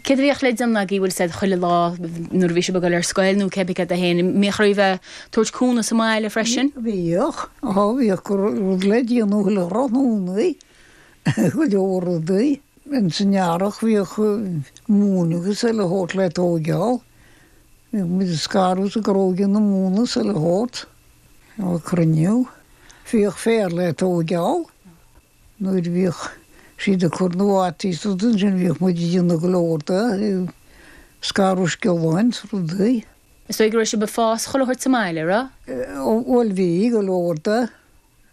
Céard a bhíodh le déanamh agaibh, bhfuil 'fhios a'd, chuile lá nuair a bhí sibh ag dul ar scoil nó cébí céard é féin, an mbíodh oraibh a tabhairt cúnamh sa mbaile freisin? Bhíodh, á bhíodh rud le déanamh chuile thráthnóna, go leor rudaí. Ins an earrach bhíodh móin agus chuile shórt le tóigeáil. Bhíodh muid ag scaradh is ag gróigeadh na móna is chuile shórt á cruinniú. Bhíodh féar le tóigeáil. Nuair a bhíodh siad ag cur na bhfataí is rudaí ansin bhíodh muid ag déanamh go leor de, ag scaradh sciolláin is rudaí. Is dóigh go raibh sibh ag fás chuile shórt sa mbaile, raibh? Bhuel bhí, go leor de,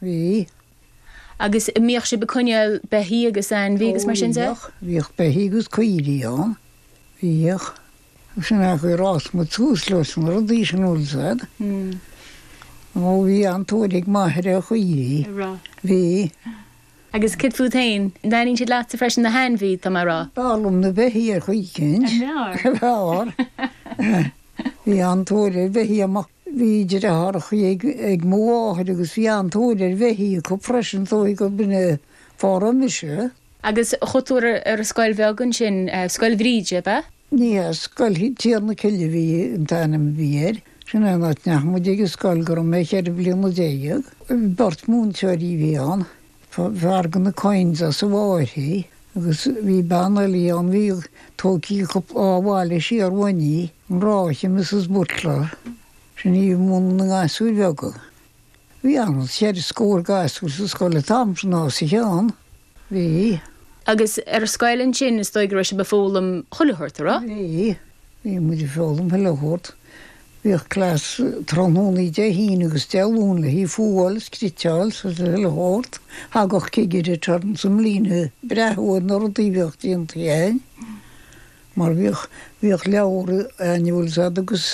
bhí. Agus an mbíodh sibh ag coinneáil beithí agus ainmhí agus mar sin de? Ó bhíodh, bhíodh beithí agus caoirigh ann, bhíodh. Sin é an chaoi ar fhás muid suas leis na rudaí sin, bhfuil 'fhios a'd. Ó bhí an-tóir ag m'athair ar chaoirigh. Bhí. Agus céard fút féin? An dtaitníonn siad leatsa freisin, na hainmhí, tá mé a rá? B'fhearr liom na beithí ar chaoi eicínt. An bhfearr? B'fhearr. Bhí an-tóir ar bheithí amach. Bhí deartháireachaí ag mo mháthair agus bhí an-tóir ar bheithí acu freisin, is dóigh gurb in é fáth a raibh mise. Agus chuaigh tú ar an scoil bheag ansin, Scoil Bhríde, ab ea? Ní hea, Scoil Tír na Cille a bhí an t-ainm a bhí air. Sin é an áit a ndeachaigh muid ag an scoil go raibh mé cheithre bliana déag. Beirt múinteoirí a bhí ann, fear de na Coynes as an bhFairche agus bhí bean eile ann a bhí tógtha acu á bhaile siar uainn í, an Ráithe, Mrs Butler. Sin í a mhúineadh na gasúir bheaga. Bhí an cheithre scór gasúr sa scoil an t-am sin os a chionn. Bhí. Agus ar scoil ansin is dóigh go raibh sibh ag foghlaim chuile shórt, a raibh? Bhí. Bhí muid ag foghlaim chuile shórt. Bhíodh class tráthnónaí Dé hAoine agus Dé Luain le haghaidh fuáil is cniotáil is chuile shórt. Thagadh cigire turns i mbliana ag breathnú ar na rudaí a bhíodh déanta againn mar bhíodh, bhíodh leabhar againn bhfuil 'fhios a'd agus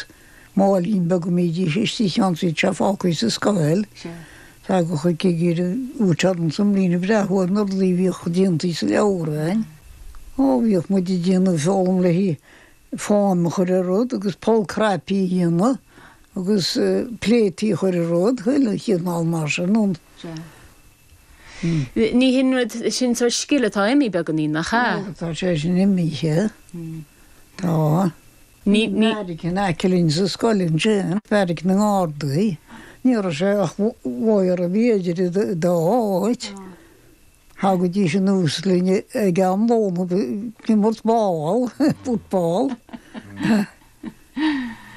máilín beag a mbídís istigh ann bhíodh sé fágtha sa scoil. Thagadh an cigire turns i mbliana ag breathnú ar na rudaí a bhíodh déanta sa leabhar againn. Ó, bhíodh muid ag déanamh foghlaim le haghaidh fáinne a chur ar rud agus poll cnaipí a dhéanamh agus pléataí a chur ar rud, chuile chineál mar sin. Ní hin rud, sin sórt scil atá imithe beagáinín, nach ea? Tá sé sin imithe. Tá. Ní, ní. Beairic in aice linn sa scoil ansin, beairic na nGardaí. Ní raibh sé ach wire a bhí idir an dá áit. Thagaidís anuas linn ag am lóin ag imirt ball, football.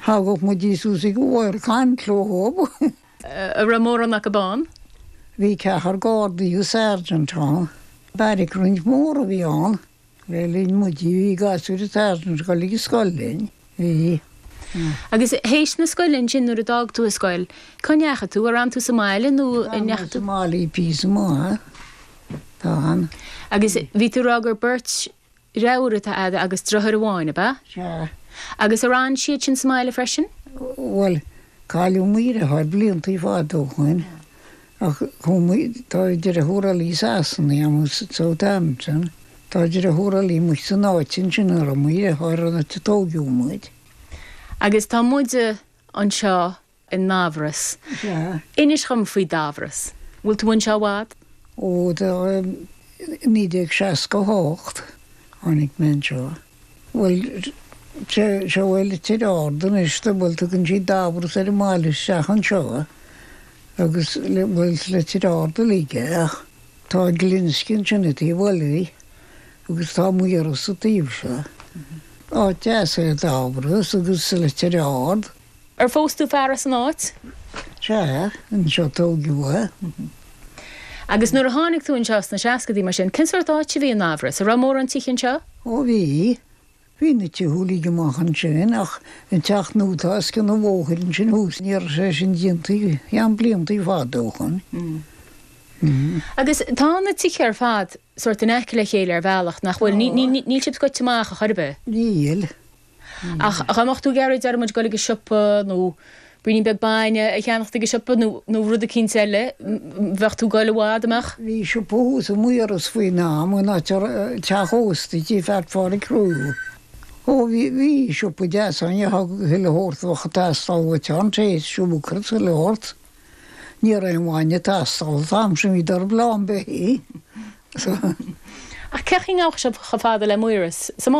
Thagadh muid suas ag an wire ag caint leo. An raibh mórán acu ann? Bhí ceathrar Gardaí agus sergeant ann. Beairic roinnt mhór a bhí ann. Le linn muid, bhí gasúir an tsergeant ag dul ag an scoil linn. Bhí. Agus théis na scoile ansin nuair a d'fhág tú an scoil, cá ndeachaigh tú? Ar fhan tú sa mbaile nó an D'fhan mé ndeachaigh sa tú? mbaile píosa maith. D'fhan. Agus bhí tú ag rá gur beirt dheartháir atá a'd agus deartháir amháin, ab ea? Sea. Agus ar fhan siad sin sa mbaile freisin? Bhuel, cailleadh mo dheartháir bliantaí fada ó shoin. Ach chuaigh muid, tá deartháir eile i Sasana agam i Southampton, tá deartháir eile amuigh san áit ansin a raibh mo dheartháir an áit a tóigeadh muid. Agus tá muid anseo i nDabhras. Sea. Inis dhom faoi Dhabhras. Bhfuil tú anseo i bhfad? Ó, tá, 1968 tháinig mé anseo. Bhuel, seo é Leitir Ard anois, bhuel, tugann siad Dabhras ar an mbaile isteach anseo agus, bhuel, is Leitir Ard uilig é ach tá Glinsce ansin an taobh eile agus tá Maoras an taobh seo. Áit deas é Dabhras agus Leitir Ard. Ar phós tú fear as an áit? Sea, anseo a tóigeadh é. Agus nuair a tháinig tú anseo sna seascadaí mar sin, cén sórt áit a bhí i nDabhras? An raibh mórán tithe anseo? Ó bhí. Bhí na tithe uilig amach ansin ach an teach nua atá os cionn an bhóthair ansin thuas, ní raibh sé sin déanta cheana bliantaí fada ó shoin. Agus tá na tithe ar fad sórt in aice le chéile ar bhealach, nach bhfuil? Níl sibh scoite amach a chor ar bith? Níl. Ach dá mbeadh tú ag iarraidh, déarfaidh muid, dul ag an siopa nó braoinín beag bainne a cheannacht ag an siopa nó nó rud eicínt eile, bheadh tú ag dul i bhfad, an mbeadh? Bhí siopa thuas i Maoras faoin am, in áit a raibh teach ósta tí Pheait Phádraig Crewe. Ó bhí, bhí siopa deas ann, gheofá chuile shórt a bheadh ag teastáil uait ann, tae, siúcra is chuile shórt. Ní raibh aon bhainne ag teastáil an t-am sin, bhíodar lán beithígh. Ach cén chaoi a ngabhadh sibh chomh fada le Maoras? Sa.